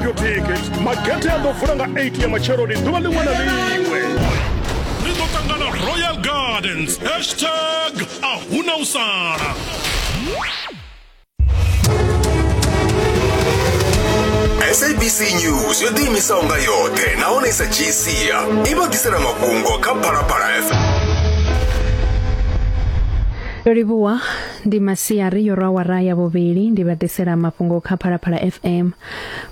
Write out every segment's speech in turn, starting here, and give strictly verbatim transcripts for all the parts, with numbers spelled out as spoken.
Grab your ticket. Magethe a ḓo vula nga eight ya matsheloni ḓuvha ḽiṅwe na ḽiṅwe. Ri ḓo ṱangana Royal Gardens. Hashtag a huna u sala. S A B C News yo ḓiimisaho nga yoṱhe nahone i sa dzhii sia i vha ḓisela mafhungo kha Phalaphala F M. Ndo livhuwa ndi masiari yo rwa awara ya vhuvhili ndi vha ḓisela mafhungo kha Phalaphala F M.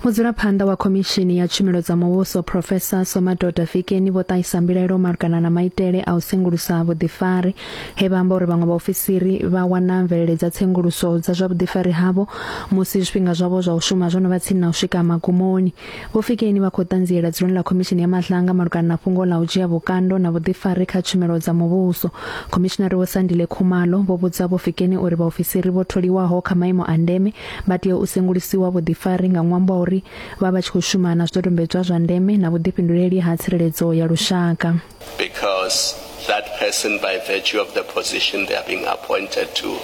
Mudzulaphanḓa wa khomishini ya tshumelo dza muvhuso Professor Somadoda Fikeni vho ṱahisa mbilaelo malugana na maitele a u sengulusa vhuḓifari he vha amba uri vhaṅwe vhaofisiri vha wana mvelele dza tsenguluso dza zwa vhuḓifari havho musi zwifhinga zwavho zwa u shuma zwo no vha tsini na u swika magumoni. Vho Fikeni vha khou ṱanziela dzuloni ḽa khomishini ya Madlanga malugana na fhungo ḽa u dzhia vhukando na vhuḓifari kha tshumelo dza muvhuso. Khomishinari Vho Sandile Khumalo vho vhudza Vho Fikeni uri vhaofisiri vho tholiwaho kha maimo a ndeme vha tea u sengulusiwa vhuḓifari nga ṅwambo wa uri vha vha tshi khou shuma na zwidodombedzwa zwa ndeme na vhuḓifhinduleli ha tsireledzo ya lushaka. Because that person, by virtue of the position they are being appointed to,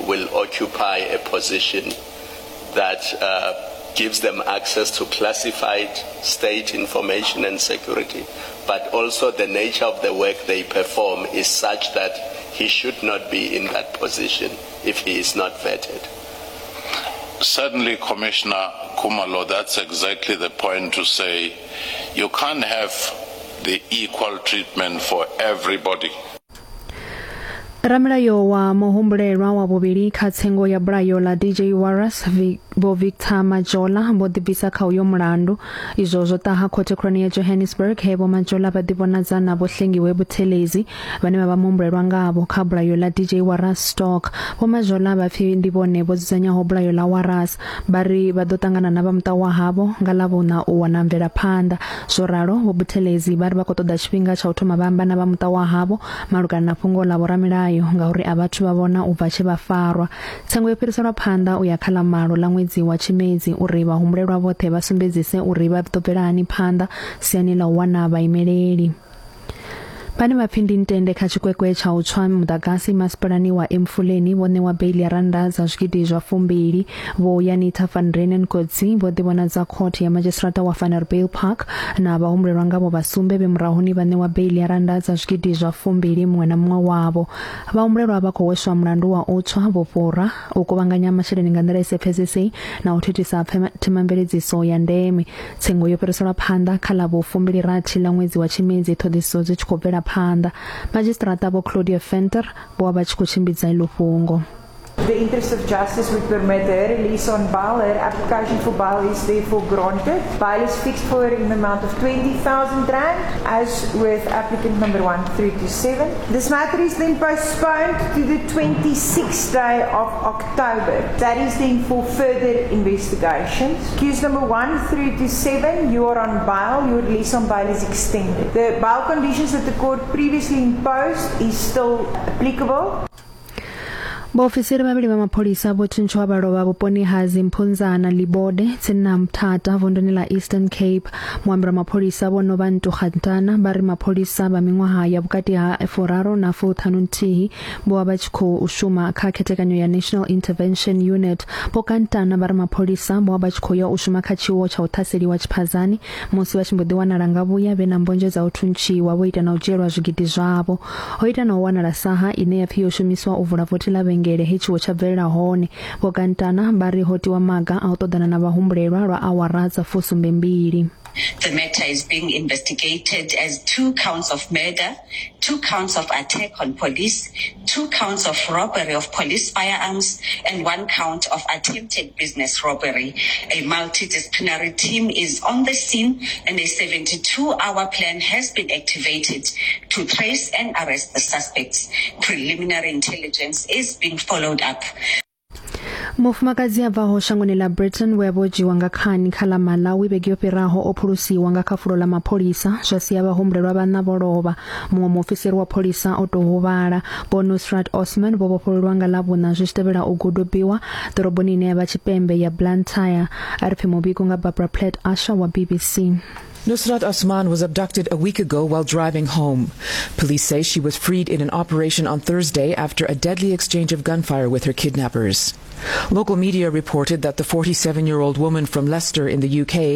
will occupy a position that uh, gives them access to classified state information and security, but also the nature of the work they perform is such that he should not be in that position if he is not vetted. Certainly, Commissioner Khumalo, that's exactly the point to say you can't have the equal treatment for everybody. Ramilayo wa muhumbulelwa wa vhuvhili kha tsengo ya bulayo ḽa D J Warras Vho Victor Majola vho ḓibvisa kha uyo mulandu. Izwo zwo ṱaha khothe khulwane ya Johannesburg he Vho Majola vha ḓivhonadza na Vho Hlengiwe Buthelezi vhane vha vha muhumbulelwa ngavho kha bulayo ḽa D J Warras Stock. Vho Majola vha pfi ndi vhone vho dzudzanyaho bulayo ḽa Warras, vha ri vha ḓo ṱangana na vha muṱa wa havho nga ḽavhuṋa u wana mvelaphanḓa. Zwo ralo Vho Buthelezi vha ri vha khou ṱoḓa tshifhinga tsha u thoma vha amba na vha muṱa wa havho malugana na fhungo ḽa vhoramilayo ngauri a vhathu vha vhona u bva tshe vha farwa. Tsengo yo fhiriselwa phanḓa u ya kha ḽa malo ḽa ṅwedzi wa Tshimedzi uri vhahumbulelwa vhoṱhe vha sumbedzise uri vha ḓo bvela hani phanḓa siani ḽa u wana vhaimeleli. Vhane vha pfi ndi ntende kha tshikwekwe tsha u tswa muḓagasi masipalani wa Emfuleni vho ṋewa beili ya rannda dza zwigidi zwa fumbili. Vho Yanita van Renen Kotsi vho ḓivhonadza khothe ya madzhisiṱiraṱa wa Vanderbijl Park na vhahumbulelwa ngavho vha sumbe vhe murahuni vha ṋewa beili ya rannda dza zwigidi zwa fumbili muṅwe na muṅwe wavho. Vhahumbulelwa vha khou hweswa mulandu wa u tswa, vhufhura, u kuvhanganya masheleni nga nḓila i sa pfesesei na u thithisa themamveledziso ya ndeme. Tsengo yo fhiriselwa phanḓa kha ḽa vhufumbili rathi ḽa ṅwedzi wa Tshimedzi ṱhoḓisiso dzi tshi khou bvela phanḓa. Madzhisiṱiraṱa Vho Claudia Venter vho vha vha tshi khou tshimbidza iḽo fhungo. The interest of justice would permit her release on bail. Her application for bail is therefore granted. Bail is fixed for her in the amount of twenty thousand rand, as with applicant number one through to seven. This matter is then postponed to the twenty-sixth day of October. That is then for further investigations. Accused number one through to seven, you are on bail. Your release on bail is extended. The bail conditions that the court previously imposed is still applicable. Vhaofisiri vhavhili vha mapholisa vho thuntshiwa vha lovha vhuponi ha Zimphunzana Libode tsini na Mthatha vunduni ḽa Eastern Cape. Muambeli wa mapholisa Vho Nobantu Kgantana vha ri mapholisa vha miṅwaha ya vhukati ha furaru na fuṱhanu nthihi vho vha vha tshi khou shuma kha khethekanyo ya National Intervention Unit. Vho Kgantana vha ri mapholisa vho vha vha tshi khou ya u shuma kha tshiwo tsha u ṱhaseliwa tshiphazani musi vha tshi mbo ḓi wanala nga vhuya vhe na mbonzhe dza u thuntshiwa vho ita na u dzhielwa zwigidi zwavho. Ho ita na u wanala saha ine ya pfi yo shumiswa u vula vothi ḽa vhengele he tshiwo tsha bvelela hone. Vho Kgantana vha ri ho tiwa maga a u ṱoḓana na vhahumbulelwa lwa awara dza fusumbe mbili. The matter is being investigated as two counts of murder, two counts of attack on police, two counts of robbery of police firearms, and one count of attempted business robbery. A multidisciplinary team is on the scene and a seventy-two hour plan has been activated to trace and arrest the suspects. Preliminary intelligence is being followed up. Mufumakadzi a bvaho shangoni ḽa Britain we a vho dzhiwa nga khani kha ḽa Malawi vhege yo fhiraho o phulusiwa nga kha fulo ḽa mapholisa zwa sia vhahumbulelwa vhaṋa vho lovha. Muṅwe muofisiri wa pholisa o tou huvhala. Vho Nusrat Osman vho vhofhololwa nga ḽavhuṋa zwi tshi tevhela u gudubiwa ḓoroboni ine ya vha tshipembe ya Blantyre. A ri pfi muvhigo nga Barbara Platt Asher wa B B C. Nusrat Osman was abducted a week ago while driving home. Police say she was freed in an operation on Thursday after a deadly exchange of gunfire with her kidnappers. Local media reported that the forty-seven-year-old woman from Leicester in the U K